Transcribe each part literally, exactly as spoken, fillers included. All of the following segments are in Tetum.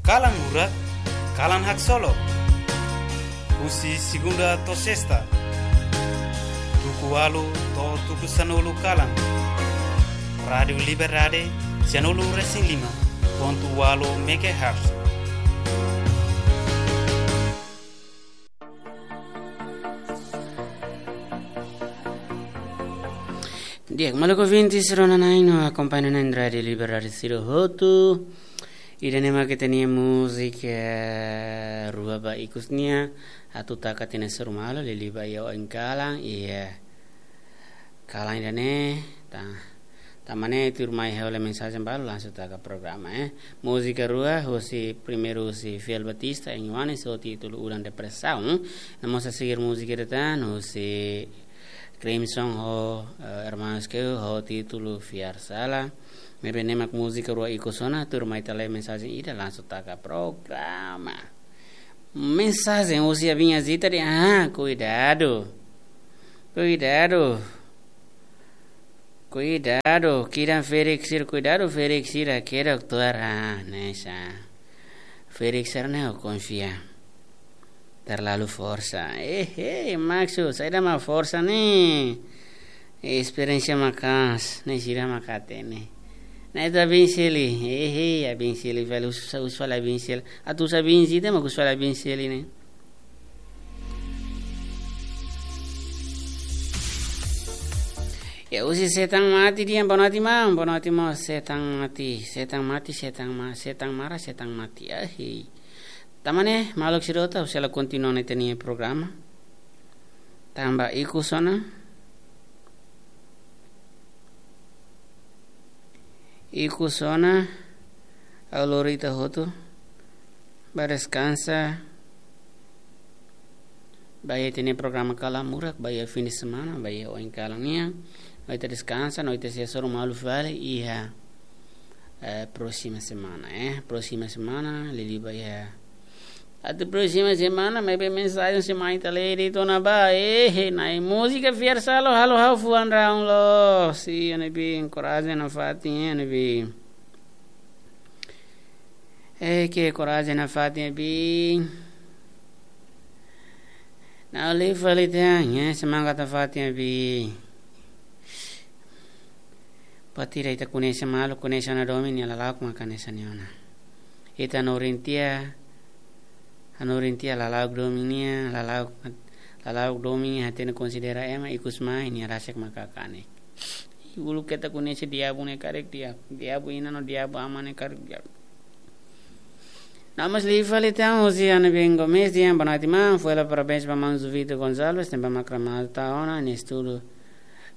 Kalan Murak, kalan haksolok. Husi segunda to'o sesta, tuku ualu to'o tuku sanulu kalan. Rádiu Liberdade, sanulu resin lima pontu ualu megahertz. Di'ak, maluk ouvintes, rona-na'in no akompaña na'in Rádiu Liberdade sira hotu. Ida-ne'e mak ita-nia múzika rua ba ikus nian, atu taka tiha ona sira malu, liuliu ba iha oin kalan, iha kalan ida-ne'e, ta, tanba ne'e tuirmai ha'u lee mensajen balu langsung taka programa, eh. Múzika rua, husi primeiru husi Fiel Batista, N One, ho títulu Udan Depresaun. No mós a seguir múzika ida tan, husi Crimson ho, eh, Hermanos Keu, ho títulu Fiar Sala. Maibé ne'e mak múzika rua ikus ona, tuirmai ita lee mensajen ida langsung taka programa. Mensajen husi Abin Azita dehan, ah, kuidadu. Kuidadu. Kuidadu, kidan ferik sira, kuidadu ferik sira, ke doktór, ah, ne'e sa. Ferik sira ne'e ha'u konfia. Terlalu forsa. Eh, eh, maksud, saida mak forsa ne'e. Esperiénsia maka'as, ne'e sira mak hatene. Ne'e ita Abin Seli, eh, eh, Abin Seli, fali husu, husu fali Abin Seli. Atu husu Abin Azita, mak husu fali Abin Seli ne'e. Ya, husi Setan Mati dehan, boa noite, maun, boa noite, maun, Setan Mati, Setan Mati, Setan Ma-, Setan Mara, Setan Mati, ahi. Tanba ne'e, maluk sira hotu, ha'u sei la kontinua ona ita-nia programa. Tanba ikus ona. Ikus ona, ha'u lori ita hotu ba deskansa, ba iha ita-nia programa Kalan Murak, ba iha fin de semana, ba iha oin kalan nian, no ita deskansa, no ita sei hasoru malu fali iha, eh, próxima semana, eh, próxima semana, liuliu ba iha Atu próxima semana, maibé mensajen sei mai ita lee de'it ona ba. Eh, eh, na'in múzika Fiar Sala halo ha'u fuan raun loos. Iha ne'ebé, korajen nafatin iha ne'ebé. Eh, ke korajen nafatin iha ne'ebé. Na'in liu fali tan, eh, semangat nafatin iha ne'ebé. Buat ida ita koñese malu, koñese ona domin, nia lala'ok mak hanesan ne'e ona. Ita hanorin tiha, hanorin tiha lala'ok domin nian, lala'ok, lala'ok domin nian hatene konsidera ema, ikus mai nia rasik mak kanek. Uluk ita koñese diabu ne'e karik diabu, diabu inan no diabu aman ne'e karik diabu. No mós liu fali tan husi Ana Bengo Mes dehan, boa noite, maun. Foin hela parabéns ba maun Juvito Gonçalves, tanba mak rematou ona nia estudu,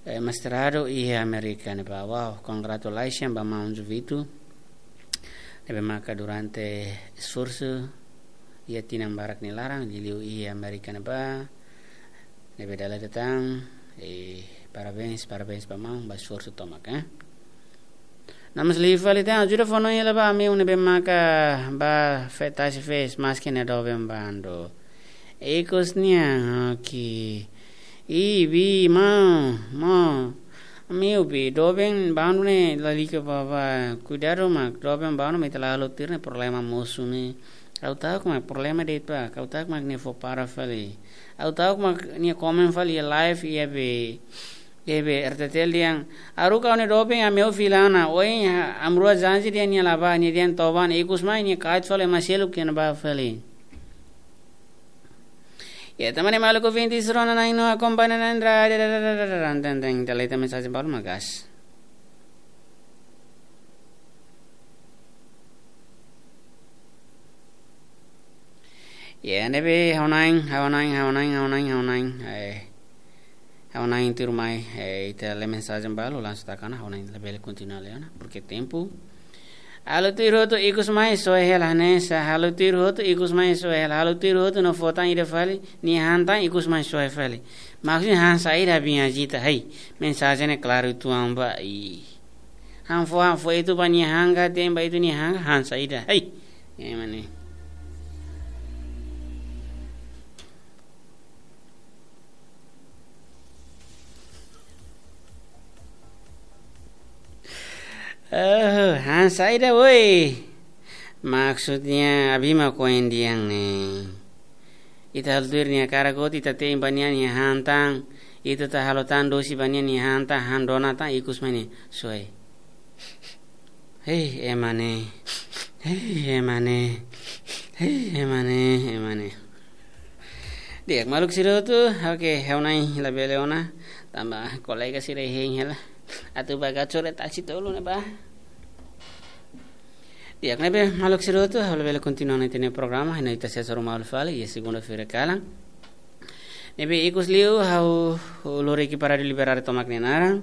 eh, mestradu iha Amérika ne'ebá. Wow, congratulations ba maun Juvito. Ne'ebé maka durante esforsu iha tinan barak nia laran, liuliu iha Amérika ne'ebá. Ne'ebé dala ida tan, eh, parabéns, parabéns ba maun, ba esforsu tomak, eh. No mós liu fali tan, ajuda fó-hanoin hela ba ami ne'ebé maka ba fe-, tasi fees, maski nia doben bandu. Ikus nian, oke. Ih, bi, maun, maun. Ami-nia bi, doben bandu ne'e lalika bá, bá. Kuidadu mak, doben bandu mak ita la halo tuir ne'e problema mosu ne'e. Ha'u ta'uk mak problema de'it ba, ha'u ta'uk mak nia fó para fali. Ha'u ta'uk mak nia komen fali iha live iha be, iha be R T T L dehan, haruka ha'u-nia doben ami-nia fila ona, ohin ha-, ami rua janji dehan nia la bá, nia dehan toba ona, ikus mai nia kaet fali ema seluk iha ne'ebá fali. Ya, tanba ne'e maluk ouvintes, rona-na'in no akompaña na'in Rádiu, dan, dan, dan, dan, ita lee ita mensajen balu mak gas. Ya, ne'ebé ha'u-nia, ha'u-nia, ha'u-nia, ha'u-nia, ha'u-nia, eh, ha'u-nia tuirmai, eh, ita lee mensajen balu, langsung taka ona, ha'u-nia labele kontinua lee ona, porque tempu. Halo tuir hotu ikus mai soe hela hanesan, halo tuir hotu ikus mai soe hela, halo tuir hotu no fó tan ida fali, nia han tan ikus mai soe fali. Maksudnya han saida Abin Azita, hei, mensajen ne'e klaru uitoan ba, ih. Han fó, han fó itu ba nia han ka, tem ba itu nia han, han saida. Hei. Ema ne'e. Oh, han saida, woi. Maksudnya, abi mak ohin dehan ne'e. Ita halo tuir nia hakarak hotu, ita te'in ba nia nia han tan, ita atu halo tan dosi ba nia nia han tan, han dona tan, ikus mai ne'e, soe. Hei, ema ne'e. Hei, ema ne'e. Hei, ema ne'e, ema ne'e. Di'ak, maluk sira hotu, oke, ha'u na'in labele ona, tanba kolega sira hein hela. Atu ba gacor e taksi tolu ne'ebá. Di'ak, ne'ebé maluk sira hotu, ha'u labele kontinua ona ita-nia programa, ha'u ita sei hasoru malu fali iha segunda-feira kalan. Ne'ebé ikus liu, ha'u lori ekipa Rádiu Liberdade tomak nia naran.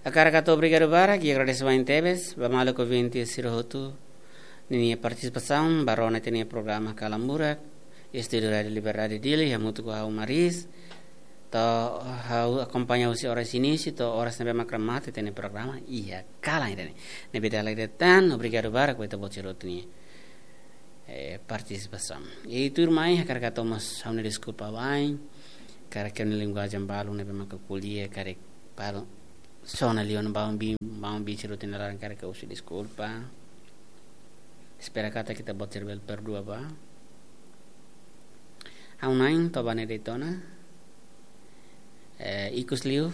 Hakarak hato'o obrigadu barak, i agradese barak tebes, ba maluk ouvinte sira hotu ninia partisipasaun, ba rona ita-nia programa Kalan Burak, estúdiu Rádiu Liberdade Dili, hamutuk ho ha'u Maris, to'o ha'u akompaña husi oras inísiu, to'o oras ne'ebé mak remata ita-nia programa, iha kalan ida-ne'e. Ne'ebé dala ida tan, obrigadu barak ba ita-boot sira hotu nia, eh, partisipasaun. I tuirmai, hakarak hato'o mós ha'u-nia deskulpa wa'in, karik ha'u-nia linguajen balu ne'ebé mak ko'alia, karik balu sona liu ona ba ombin, ba ombin sira hotu nia laran karik ha'u husu deskulpa. Espera katak ita-boot sira bele perdua ba. Ha'u na'in to'o ba ne'e de'it ona. Eh, ikus liu,